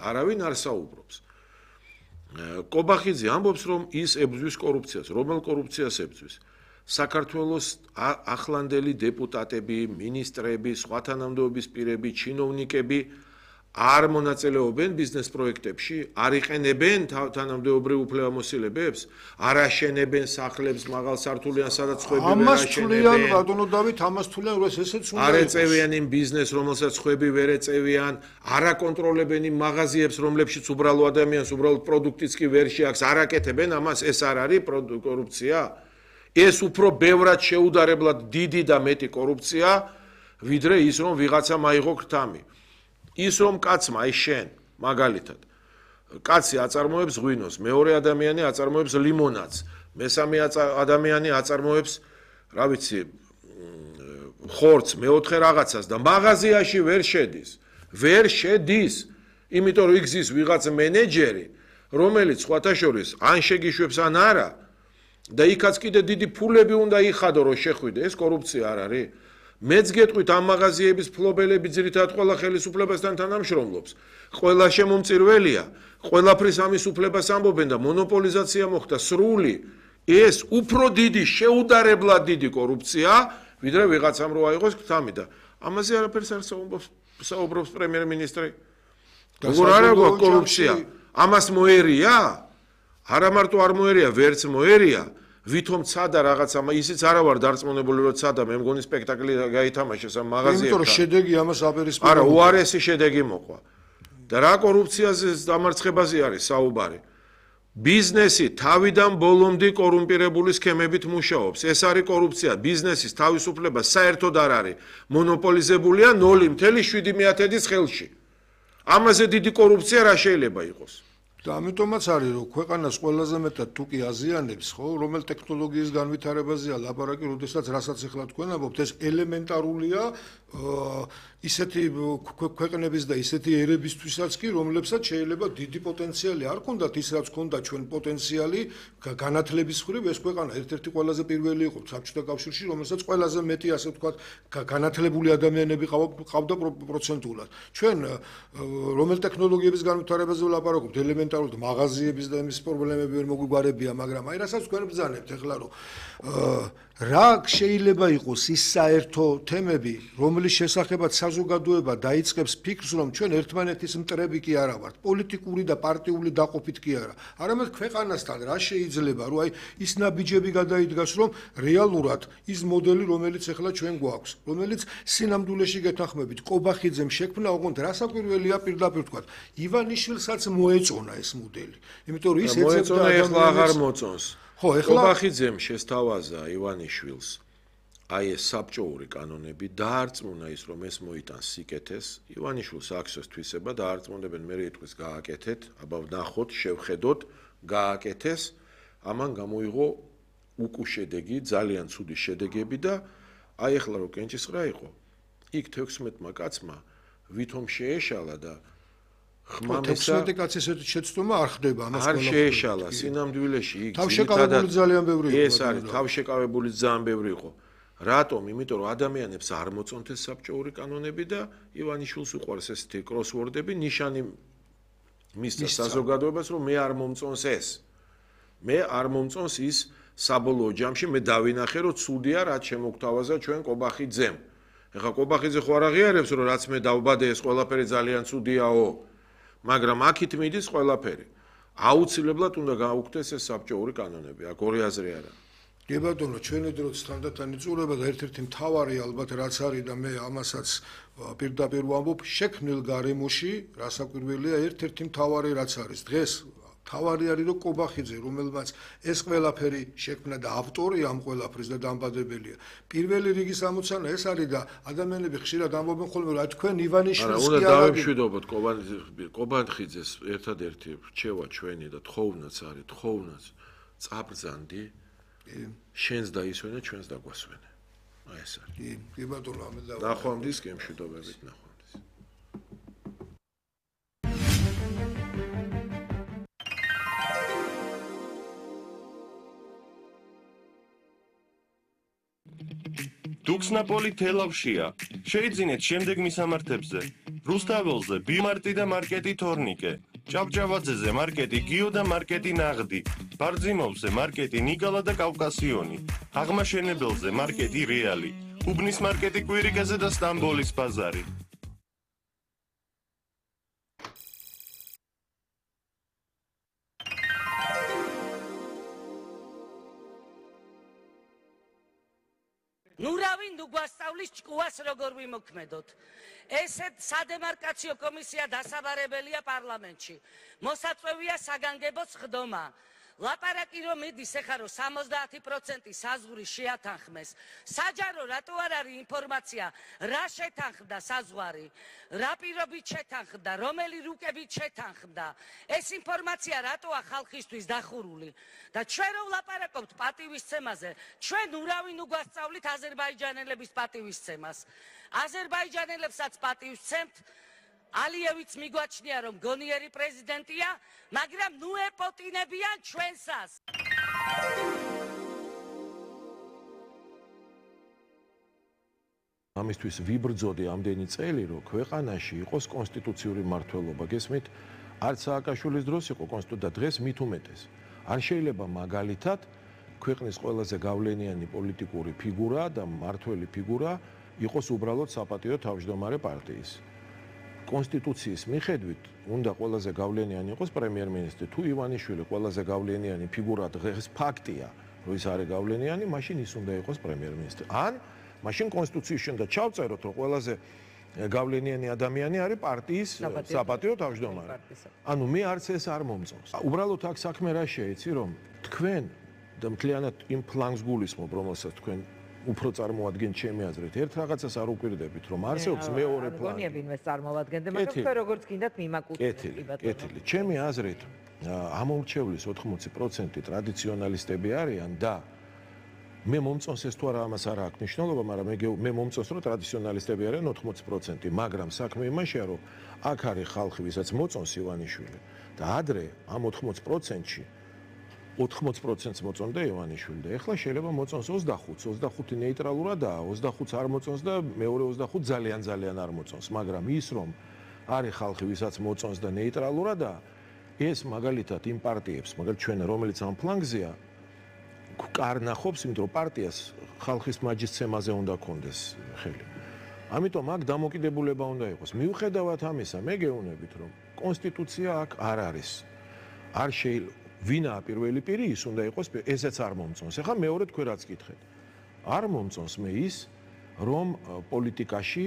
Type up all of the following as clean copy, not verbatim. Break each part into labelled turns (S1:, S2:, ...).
S1: არავინ არ საუბრობს. კობახიძე ამბობს, რომ ის ებრძვის კორუფციას. რომელ კორუფციას ებრძვის? საქართველოს ახლანდელი დეპუტატები, მინისტრები, სხვა თანამდებობის პირები, ჩინოვნიკები არ მონაწილეობენ ბიზნეს პროექტებში, არ იყენებენ თანამდებობრივ უფლებამოსილებებს, არ აშენებენ სახლებს მაღალსართულიან, სადაც ხვები ვერ
S2: ამას თვლიან,
S1: აშენებენ.
S2: ბატონო დავით, ამას თვლიან, რომ ესეც უნდა
S1: არ ეწევიან იმ ბიზნესს, რომელსაც ხვები ვერ ეწევიან, არ აკონტროლებენ იმ მაღაზიებს, რომლებშიც უბრალო ადამიანს უბრალოდ პროდუქტიც კი ვერ შეაქვს, არ აკეთებენ ამას, ეს არ არის კორუფცია? ეს უფრო ბევრად შეუდარებლად დიდი და მეტი კორუფცია, ვიდრე ის, რომ ვიღაცამ აიღო ქრთამი. ის რომ კაცმა, აი შენ, მაგალითად, კაცი აწარმოებს ღვინოს, მეორე ადამიანი აწარმოებს ლიმონადს, მესამე ადამიანი აწარმოებს, რა ვიცი, ხორცს, მეოთხე რაღაცას და მაღაზიაში ვერ შედის, იმიტომ რომ იქ ზის ვიღაც მენეჯერი, რომელიც სხვათა შორის ან შეგიშვებს ან არა და იქაც კიდე დიდი ფულები უნდა იხადო, რომ შეხვიდე, ეს კორუფცია არ არის? მეც გეტყვით ამ მაღაზიების ფლობელები ძირითადად ყველა ხელისუფლებასთან თანამშრომლობს. ყველა შემომწირველია, ყველაფრის ამის უფლებას ამბობენ და მონოპოლიზაცია მოხდა სრული. ეს უფრო დიდი, შეუდარებლად დიდი კორუფცია, ვიდრე ვიღაცამ რო აიღოს ქრთამი და ამაზე არაფერს არ საუბრობს პრემიერ-მინისტრი. როგორ არ აქვს კორუფცია? ამას მოერია? არა მარტო არ მოერია, ვერც მოერია. ვითომ ცადა რაღაცა, ისიც არა ვარ დარწმუნებული, რომ ცადა, მე მგონი სპექტაკლი გაითამაშეს ამ მაღაზიებთან.
S2: იმიტომ რომ შედეგი ამას აპირისპირებს.
S1: არა, უარესი შედეგი მოყვა. და რა კორუფციაზე დამარცხებაზე არის საუბარი? ბიზნესი თავიდან ბოლომდე კორუმპირებული სქემებით მუშაობს. ეს არის კორუფცია. ბიზნესის თავისუფლება საერთოდ არ არის. მონოპოლიზებულია 0.7-ის ხელში. ამაზე დიდი კორუფცია რა შეიძლება იყოს?
S2: და ამიტომაც არის, რომ ქვეყანას ყველაზე მეტად თუკი აზიანებს, ხო, რომელ ტექნოლოგიის განვითარებაზეა ლაპარაკი, როდესაც რასაც ახლა თქვენ ამბობთ, ეს ელემენტარულია ისეთი ქვეყნების და ისეთი ერებისთვისაც კი, რომლებსაც შეიძლება დიდი პოტენციალი არ ქონდათ ის, რაც ქონდა ჩვენ პოტენციალი განათლების მხრივ, ეს ქვეყანა ერთ-ერთი ყველაზე პირველი იყო საბჭოთა კავშირში, რომელსაც ყველაზე მეტი, ასე ვთქვათ, განათლებული ადამიანები ყავდა პროცენტულად. ჩვენ რომელ ტექნოლოგიების განვითარებაზე ვლაპარაკობთ, ელემენტარულად მაღაზიების და იმის პრობლემები ვერ მოგვიგარებია, მაგრამ აი რასაც თქვენ ბრძანებთ ახლა, რომ რა შეიძლება იყოს ის საერთო თემები, რომლის შესახებაც საზოგადოება დაიწყებს ფიქრს, რომ ჩვენ ერთმანეთის მტრები კი არა ვართ, პოლიტიკური და პარტიული დაყოფით კი არა. არამედ ქვეყანასთან რა შეიძლება, რომ აი ის ნაბიჯები გადაიდგას, რომ რეალურად ის მოდელი, რომელიც ახლა ჩვენ გვაქვს, რომელიც სინამდვილეში გეთანხმებით, კობახიძემ შექმნა, ოღონდ რასაკვირველია პირდაპირ ვთქვათ, ივანიშვილსაც მოეწონა ეს მოდელი. იმიტომ რომ ის
S1: ეცემა ახლა აღარ მოწონს.
S2: ხო, ახლა
S1: კობახიძემ შესთავაზა ივანიშვილს აი ეს საბჭოური კანონები დაარწმუნა ის, რომ ეს მოიტანს სიკეთეს, ივანიშვილს აქვს ეს თვისება, დაარწმუნებენ, მე იტყვის გააკეთეთ, აბა ვნახოთ, შევხედოთ, გააკეთეს, ამან გამოიღო უკუშედეგი, ძალიან ცუდი შედეგები და აი ახლა რო კენჭისყრა იყო, იქ 16-მა კაცმა ვითომ შეეშალა და ხმამესა
S2: 16 კაცის ესეთი შეცდომა არ ხდება ამას
S1: არ შეეშალა სინამდვილეში იქ
S2: თავშეკავებული ძალიან ბევრი იყო.
S1: ეს არის თავშეკავებული ძალიან ბევრი იყო. რატომ? იმიტომ რომ ადამიანებს არ მოწონთ ეს საბჭოური კანონები და ივანიშვილს უყვარს ესეთი კროსვორდები, ნიშანი მისცა საზოგადოებას, რომ მე არ მომწონს ეს. მე არ მომწონს ის საბოლოო ჯამში მე დავინახე, რომ ცუდია რაც შემოგთავაზა ჩვენ კობახიძემ. ეხლა კობახიძე ხო არ აღიარებს, რომ რაც მე დავბადე ეს ყველაფერი ძალიან ცუდიაო. მაგრამ აქით მიდის ყველაფერი. აუცილებლად უნდა გაუქმდეს ეს საბჭოური კანონები. აქ ორი აზრი არა.
S2: კი ბატონო, ჩვენი დროც თანდათან იწურება და ერთ-ერთი მთავარი ალბათ რაც არის და მე ამასაც პირდაპირ ვამბობ, შექმნილ გარემოში, რასაკვირველია, ერთ-ერთი მთავარი რაც არის. დღეს თავარი არის რომ კობახიძე, რომელმაც ეს ყველაფერი შექმნა და ავტორი ამ ყველაფრის და დამბადებელია. პირველი რიგის ამოცანა ეს არის და ადამიანები ხშირად ამბობენ ხოლმე რომ თქვენ ივანიშვილს კი
S1: არა დავემშვიდობოთ კობახიძეს ერთადერთი რჩევა ჩვენი და თხოვნაც არის, თხოვნაც წაბრძანდი შენს დაისვენე, ჩვენს დაგვასვენე. აი ეს არის.
S2: კი ბატონო, ამე და
S1: ნახვამდის გემშვიდობებით ნახვამდის.
S3: დუქს ნაპოლი თელავშია. შეიძინეთ შემდეგ მისამართებზე. რუსთაველზე ბიმარტი და მარკეტი თორნიკე, ჭავჭავაძეზე მარკეტი გიო და მარკეტი ნაღდი, ბარძიმოვზე მარკეტი ნიკალა და კავკასიონი, აღმაშენებელზე მარკეტი რეალი, უბნის მარკეტი კვირიკაზე და სტამბოლის ბაზარი.
S4: ნურავინ უგვასწავლის ჭკუას როგორ ვიმოქმედოთ. ესეთ სადემარკაციო კომისია დასაბარებელია პარლამენტში. მოსაწვევია საგანგებო ხდომა. ლაპარაკი რომ მიდის ეხლა რომ 70% საზღვარი შეათანხმეს. საჯარო რატო არ არის ინფორმაცია რა შეთანხმდა საზღვარი, რა პირობით შეთანხმდა, რომელი რუკებით შეთანხმდა. ეს ინფორმაცია რატოა ხალხისთვის დახურული და ჩვენ რომ ვლაპარაკობთ პატივისცემაზე, ჩვენ ურავინ უგვასწავლით აზერბაიჯანელების პატივისცემას. აზერბაიჯანელებსაც პატივისცემთ. ალიევიც მიგვაჩნია რომ გონიერი პრეზიდენტია, მაგრამ ნუ ეპოტინებიან ჩვენსას.
S1: ამისთვის ვიბრძოდი ამდენი წელი, რომ ქვეყანაში იყოს კონსტიტუციური მმართველობა. გესმით, არც სააკაშვილის დროს იყო კონსტიტუცია, დღეს მით უმეტეს. არ შეიძლება მაგალითად ქვეყნის ყველაზე გავლენიანი პოლიტიკური ფიგურა და მმართველი ფიგურა იყოს უბრალოდ საპატიო თავმჯდომარე პარტიის. კონსტიტუციის მიხედვით უნდა ყველაზე გავლენიანი იყოს პრემიერ-მინისტრი. თუ ივანიშვილი ყველაზე გავლენიანი ფიგურა დღეს ფაქტია, რომ ის არის გავლენიანი, მაშინ ის უნდა იყოს პრემიერ-მინისტრი. ან მაშინ კონსტიტუციაში უნდა ჩავწეროთ, რომ ყველაზე გავლენიანი ადამიანი არის პარტიის საპატიო თავმჯდომარე. ანუ მე არც ეს არ მომწონს. უბრალოდ აქ საქმე რა შეიცი, რომ თქვენ და მთლიანად იმ ფლანგს გულისხმობ, რომელსაც თქვენ უფრო წარმოადგენთ ჩემი აზრით. ერთ რაღაცას არ უკვირდებით, რომ არსებობს მეორე პლანი.
S5: გონია ვინმე წარმოადგენდე, მაგრამ თქვენ როგორც გინდათ მიმაკუთვნეთ.
S1: კეთილი. ჩემი აზრით, ამომრჩევლის 80% ტრადიციონალისტები არიან და მე მომწონს ეს თუ არა ამას არ აქვს მნიშვნელობა, მაგრამ მე მომწონს რომ ტრადიციონალისტები არიან 80%, მაგრამ საქმე იმაშია, რომ აქ არის ხალხი, ვისაც მოწონს ივანიშვილი და ადრე ამ 80%-ში 80%-ს მოწონდა ივანიშვილი და ეხლა შეიძლება მოწონს 25-ს, 25 ნეიტრალურადაა, 25-ს არ მოწონს და მეორე 25 ძალიან არ მოწონს, მაგრამ ის რომ არის ხალხი, ვისაც მოწონს და ნეიტრალურადაა, ეს მაგალითად იმ პარტიებს, მაგალითად ჩვენ რომელიც ამ ფლანგზეა, კარნახობს, იმიტომ რომ პარტიას ხალხის მაჯისცემაზე უნდა კონდეს ხელი. ამიტომ აქ დამოკიდებულება უნდა იყოს. მიუხედავად ამისა, მე გეუბნებით, რომ კონსტიტუცია აქ არ არის. არ შეიძლება ვინაა პირველი პირი, ის უნდა იყოს, ესეც არ მომწონს. ეხლა მეორე თქვენ რაც გითხეთ. არ მომწონს მე ის, რომ პოლიტიკაში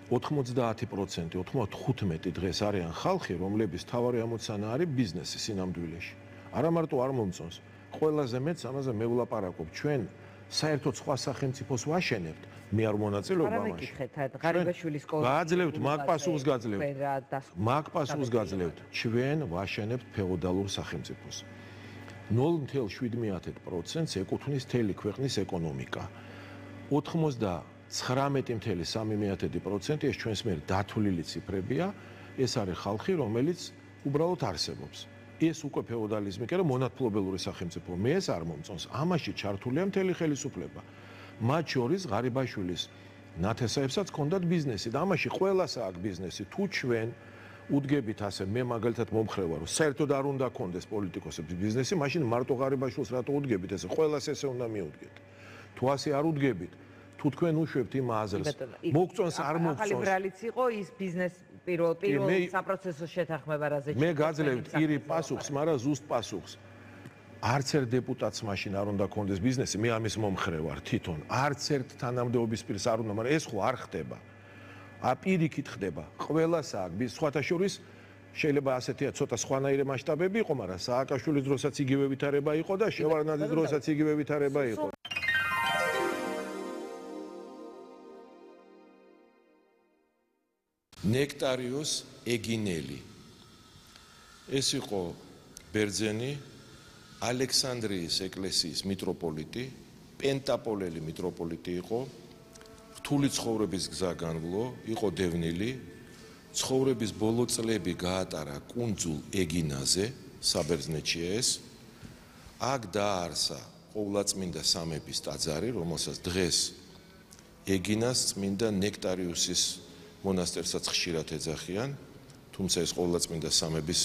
S1: 90%, 95 დღეს არიან ხალხი, რომლების თავარი ამოცანა არის ბიზნესი სინამდვილეში. არა მარტო არ მომწონს, ყველაზე მეც ამაზე მე ვლაპარაკობ. ჩვენ საერთოდ სხვა სახელმწიფოს ვაშენებთ, მე არ მონაწილეობ ამაში.
S5: არა მეკითხეთ, ღარიბაშვილის კოლონია.
S1: გააძლევთ, მაგ პასუხს გაძლევთ. მაგ პასუხს გაძლევთ. ჩვენ ვაშენებთ ფეოდალურ სახელმწიფოს. 0.7%-ს ეკუთვნის მთელი ქვეყნის ეკონომიკა. 99.3% ეს ჩვენს მიერ დათვლილი ციფრებია, ეს არის ხალხი, რომელიც უბრალოდ არსებობს. ეს უკვე ფეოდალიზმი კი არა, მონათმფლობელური სახელმწიფო. მე ეს არ მომწონს. ამაში ჩართულია მთელი ხელისუფლება. მათ შორის ღარიბაშვილის ნათესაებსაც ჰქონდათ ბიზნესი და ამაში ყველას აქვს ბიზნესი. თუ ჩვენ უდგებით ასე, მე მაგალითად მომხრე ვარ, რომ საერთოდ არ უნდა ჰქონდეს პოლიტიკოსების ბიზნესი, მაშინ მარტო ღარიბაშვილს რატო უდგებით ესე? ყველას ესე უნდა მიუდგეთ. თუ ასე არ უდგებით, თუ თქვენ უშვებთ იმ აზრს, მოგწონს არ მოგწონს.
S5: ახალი ბრალიც იყო ის ბიზნეს პირველ საპროცესო შეთანხმება რაზე.
S1: მე გაძლევთ პირი პასუხს, მაგრამ ზუსტ პასუხს. არც ერთ დეპუტატს მაშინ არ უნდა ჰქონდეს ბიზნესი, მე ამის მომხრე ვარ თვითონ. არც ერთ თანამდებობის პირს არ უნდა, მაგრამ ეს ხო არ ხდება. პირიქით ხდება. ყველას აქვს, სხვათა შორის შეიძლება ასეთია ცოტა სხვანაირი მასშტაბები იყო, მაგრამ სააკაშვილის დროსაც იგივე ვითარება იყო და შევარდნაძის დროსაც იგივე ვითარება იყო. ნექტარიოს ეგინელი. ეს იყო ბერძენი ალექსანდრიის ეკლესიის მიტროპოლიტი, პენტაპოლელი მიტროპოლიტი იყო. რთული ცხოვრების გზა განვლო, იყო დევნილი. ცხოვრების ბოლო წლები გაატარა კუნძულ ეგინაზე, საბერძნეთშია ეს. აქ დააარსა ყოვლადწმინდა სამების ტაძარი, რომელსაც დღეს ეგინას წმინდა ნექტარიუსის მონასტერსაც ხშირად ეძახიან, თუმცა ეს ყოვლადწმინდა სამების